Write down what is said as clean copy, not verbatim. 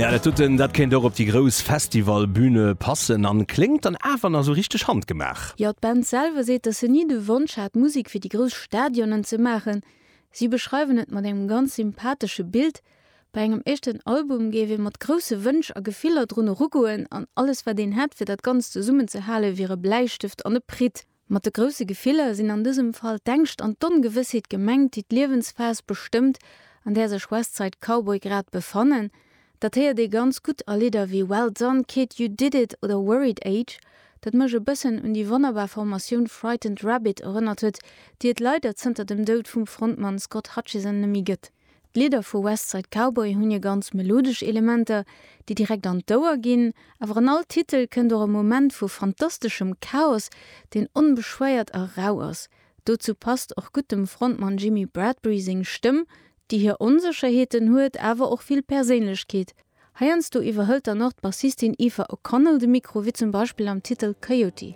Ja, dat doten, dat kéint och op déi grouss Festivalbüne passen an kléngt dann awer nach sou richteg handgemaach. Jo, d'Band selwer seet, dass se ni de Wonsch hat, Musek fir déi grouss Stadionen ze maachen. Si beschreiwen et mat engem ganz sympathesche Bild, Bei engem éischten Album géif ee mat grousse Wënsch a Gefiller drun erugoen an alles wat een hätt fir dat Ganzt zesummen ze hale wier e Bläistëft an e Pritt. Mat de grousse Gefiller sinn an dësem Fall d'Ängscht an d'Ongewëssheet gemengt, déi d'Liewensphas bestëmmt, an där sech Westside Cowboy grad befannen. Dat héiert ee ganz gutt a Lidder wéi Well Done Kid, You Did It oder Worried Age, dat mech e bëssen un déi wonnerbar Formatioun Frightened Rabbit erënnert huet, déi et leider zënter dem Doud vum Frontmann Scott Hutchison nemmi gëtt. D'Lidder vu West Side Cowboy hunn hir ganz melodesch Elementer, déi direkt an d'Ouer ginn, awer an all Titel kënnt och e Moment vu fantasteschem Chaos, deen onbeschwéiert a rau ass. Dozou passt och gutt dem Frontmann Jimmy Bradbury seng Stëmm, déi hir Onsécherheeten huet, awer och vill Perséinlechkeet. Heiansdo iwwerhëlt dann och d'Bassistin Aoife O'Connell de Mikro, wéi zum Beispill am Titel Coyote.